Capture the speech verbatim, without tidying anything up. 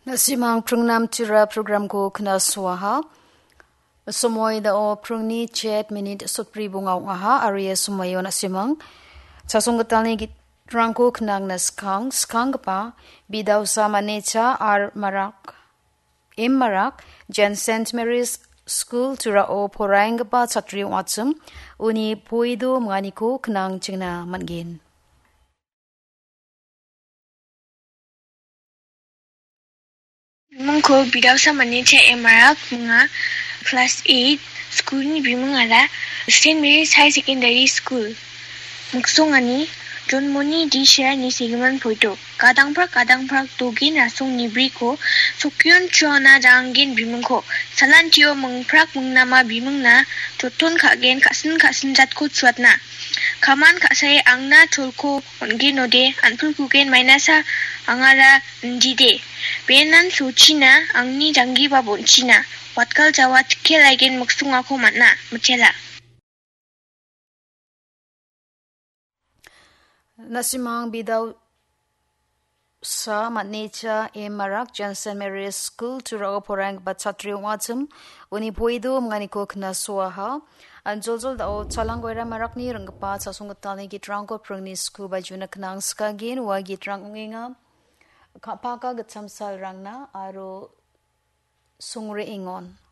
Na·simang pringnam tira programko knasoaha. Somoi dao pringni chet minit sotbri bonga ong·aha, aro ia somoio na·simang chasonggitalni gitrangko knangna skang, skanggipa bidausa Manecha R Marak, M Marak, Jen Saint Mary's School Turao poraienggipa chatri ong·achim, uni poido minganiko knangchingna man·gen. Bimingko bidausa Manecha M Marak, minga class eight, school-ni bimingara Saint Mary's High Secondary School. Miksongani, Jonmoni D Sherani segimin poito. Gadangprak gadangprak dogen rasong nibriko, sokion chuana janggen bimingko. Salantio mingprak mingnama bimingna, joton ka·gen ka·sin ka·sin jatko chuatna. Kaman ka·sae angna cholko on·genode, an·pulkugen mainasa angara indide. Benan sochina, angni janggiba bonchina. Watgal jawa tikke laigen miksongako man·a, mitela. Na·simang bidausa Manecha M Marak, Jen Saint Mary's School Turao poraienggipa chatri ong·achim, uni poido minganiko knasoaha. Anjoljol dao Chalang Goira Marakni ringgipa chasonggitalni gitrangko pringni sku bajuna knang skanggen, ua gitrang ong·enga. Ka·paka gitcham salrangna aro songre·engon.